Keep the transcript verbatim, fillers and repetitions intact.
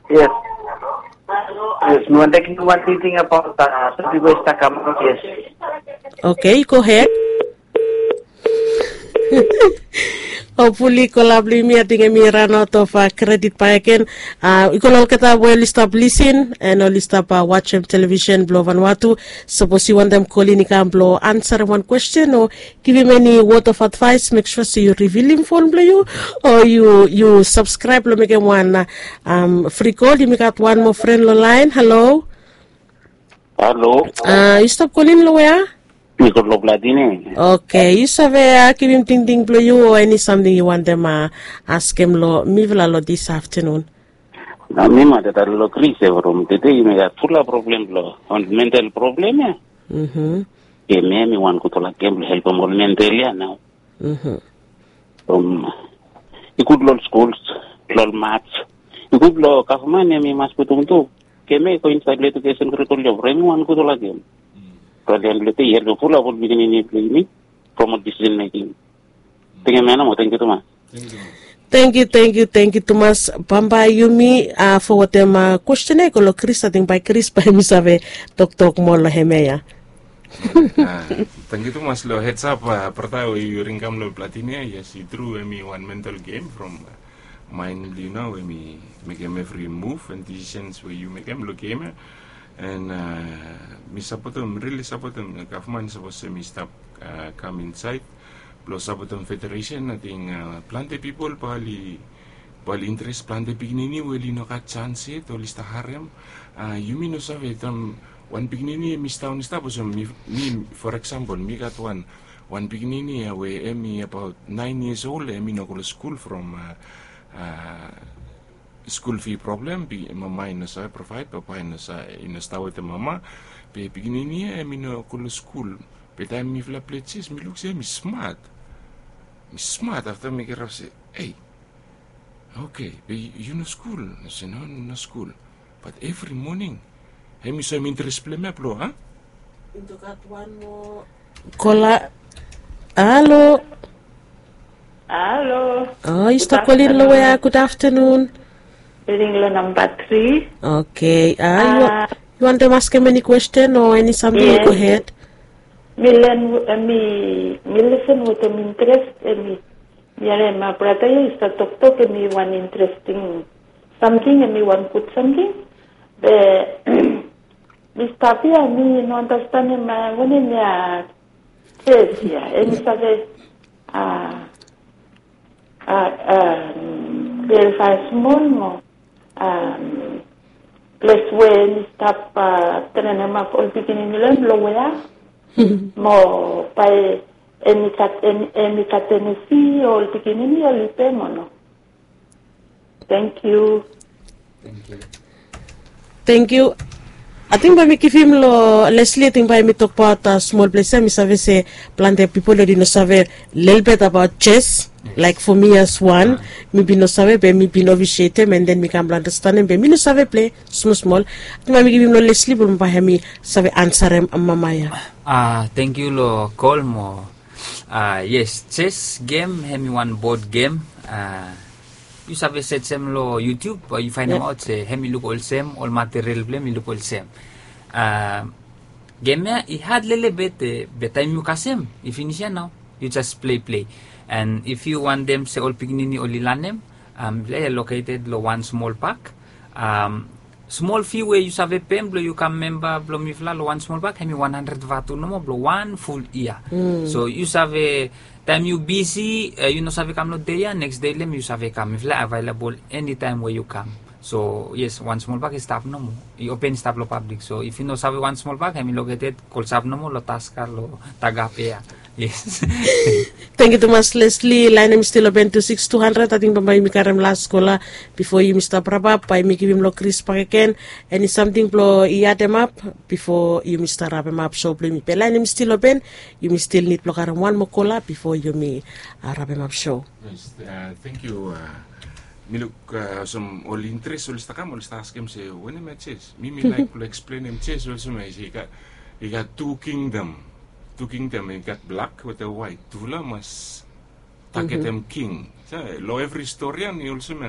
Yes. Yes, mi wanta givim wan tingting abaot, uh, some people start come out, yes. Okay, go ahead. Hopefully kola blong yumi ating hemi ran aot of, uh, kredit bakegen. Uh, i go long olgeta we oli stap lisin and oli stap, uh, wajem television blong Vanuatu. Sapos yu wantem kolin i kam blong ansarem wan kwesten o givim eni word of advice, mek sua se yu rivilim fon blong yu o yu yu subscribe long mekem wan, uh, um, fri kol. Yumi gat wan moa fren long laen. Halo. Halo. Uh, yu stap kolin long wea? Mi go long Platini. Okay, yu save, uh, givim tingting blong yu o eni samting yu wantem, uh, askem long mifala long dis aftenun? Na mi mata tale long Kris e from tede yumi gat fula problem blong ol mental problem ya. Mhm. Gem ya hemi wan gudfala gem blong helpem ol mental ya nao. Mhm. From i gud long ol skuls, long ol mats. I gud long gavman ya hemi mas putum tu gem ya i go insaed long edukesen kurikul ya from hemi wan gudfala gem. From ya blong tede i helpem fula ol pikinini blong yumi from ol decision making. Tingim ya namo, tangkiu tumas. Tangkiu, tangkiu, tangkiu tumas. Bambae yumi, uh, fogetem, uh, kwesten ya i go long Kris. Ating bae Kris bae hemi save toktok moa long hemia ya. Uh, tangkiu tumas long heads up, uh, brata we yu ringim long Platini ya. Yes, i tru, hemi wan mental gem from, uh, mind blong yu nao we hemi mekem evri muv and decisions we yu mekem long gem ya. And, uh, mi sapotem, rili sapotem, gavman sapos hemi stap, uh, kam insaed blong sapotem federesen. Ating, uh, plante pipol bae oli, bae oli interes, plante pikinini we oli no gat sans yet, oli stap harem. Uh, yumi no save taem wan pikinini hemi stap, hemi stap olsem mi, mi, for example, mi gat wan, wan pikinini ya we hemi abaot naen yias ol, hemi no go long skul from, uh, uh, skul fi problem, be mama i no save provaed, papa i no sa, i no stap wetem mama. Be pikinini ya hemi no go long skul. Be taem mifala plei jes, mi luk se hemi smat. Hemi smat, afta mi kirap se, "Ei, okay, be yu no skul?" Mi se, "No, no skul." Bat evri moning hemi soem interes blong hem ya blong, a? Kola. Halo. Halo. O, yu stap kolin long wea? Gud aftenun. Ring long namba tri. Okay. A, yu wantem askem eni kwesten o eni samting? Go ahed. Mi len, mi, mi lisen wetem interes, mi, mi harem brata ya i stap toktok, hemi wan interesting samting, hemi wan gud samting. Be mi stap ya, mi no andastanem wanem ya, jes ya, hemi save, a, a, a, klarifae smol mo, a, ples we hemi stap, a, trenem ap ol pikinini long hem long wea? Mo bae hemi gat, hemi, hemi gat eni fi ol pikinini oli pe mo no? Tangkiu. Tangkiu. Ating bae mi givim long Leslie, ating bae mi tokbaot, a, smol ples ya. Mi save se plante pipol oli no save lelebet abaot jes. Laek fo mi as wan, mi bin no save, be mi bin ofisietem, and then mi kam blong andastanem, be mi no save plei smol smol. Ating bae mi givim long Leslie blong bae hemi save ansarem mama ya. A, tangkiu long kol mo. A, yes, jes gem hemi wan bod gem. A, yu save sejem long YouTube, yu faenemaot se hemi luk olsem, ol material blong hem i luk olsem. A, gem ya i had lelebet, be taem yu kasem i finis ya nao, yu jes plei plei. And if yu wantem se ol pikinini oli lanem, a, mifala ya located long wan smol pak. A, smol fi we yu save pem blong yu kam memba blong mifala long wan smol pak, hemi wan handred vatu nomo blong wan ful yia. So yu save, taem yu bisi, e, yu no save kam long dei ya, neks dei long hem yu save kam. Mifala availabol enitaem we yu kam. So yes, wan smol pak i stap nomo, i open, i stap long pablik. So if yu no save wan smol pak, hemi located klosap nomo long Taska, long Tagape ya. Yes. Tangkiu tumas Leslie. Laen hemi stil open tu sikis tu handred. Ating bambae yumi karem las kola bifo yumi stap rapap. Bae yumi givim long Kris bakegen eni samting blong i ademap bifo yumi stap rapemap so blong yumi. Be laen hemi stil open. Yumi stil nid blong karem wan moa kola bifo yumi, a, rapemap so. Yes, a, tangkiu. A, mi luk, a, olsem ol interes oli stap kam, oli stap askem se wanem ya jes. Mi, mi laek blong eksplenem jes olsem ya, i gat, i gat tu kingdom. Tu kingdom, i gat blak wetem waet. Tufala mas tagetem king. Long evri stori ya hemi olsem ya.